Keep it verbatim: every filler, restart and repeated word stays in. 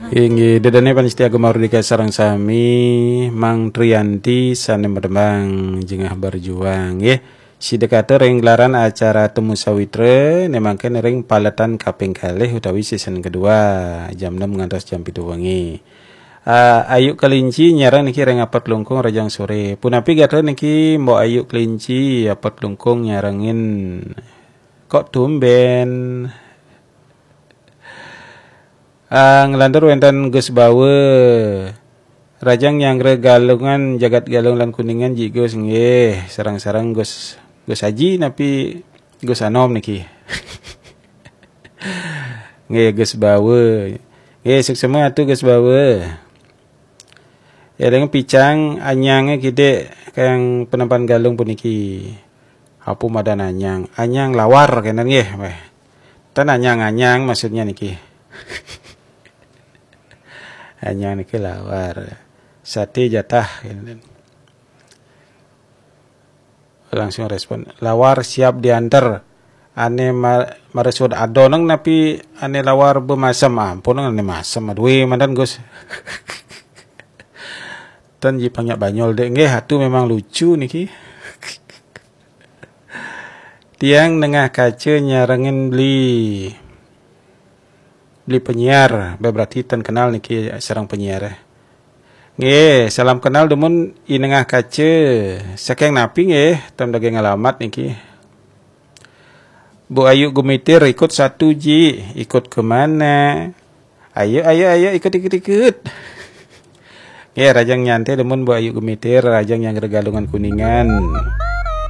Inggih, dedene panitia Gema Merdeka sareng sami, Mang Trianti sane merembang jengah berjuang, nggih. Sida kata ring gelaran acara Temu Sawitra, ne mangkin ring paletan kaping kalih utawi season kedua, jam enam ngantos jam pitu wengi. Ah, Ayu Kelinci nyareng niki ring Apot Klungkung Rajang Sore. Punapi gatra niki Mbok Ayu Kelinci, Apot Klungkung nyarengin. Kok tumben? Ah, nglantur wenten Gus Bawa. Rajang nyanggra Galungan, jagat Galung lan Kuningan, Ji Gus, nggih. Sareng-sareng Gus, Gus Aji napi Gus Anom niki. Nggih, Gus Bawa. Nggih, suksma atu Gus Bawa. Eling picang anyange kidik kayang penempan Galung puniki. Apa madan anyang? Anyang lawar kenten nggih, weh. Ten anyang-anyang maksudnya niki. Anyang niki lawar. Sate jatah kenten. Langsung respon. Lawar siap diantar. Ane ma-, maresud adoneng napi ane lawar bemasem. Ampun ane masem. Aduh, mandan Gus. Ten ji panyak banyol dek. Nggih, atu memang lucu niki. Tiang nengah kaca nyarengin beli, beli penyiar, berarti ten kenal niki sareng penyiar, eh. Nggih, salam kenal dumun I Nengah Kaca. Saking napi nggih, ten daging alamat niki. Bu Ayu Gumitir ikut satu ji, ikut ke mana? Ayo, ayo, ayo, ikut, ikut, ikut. Nggih, Rajang Nyantai demen Bu Ayu Gumitir, Rajang nyanggra Galungan Kuningan.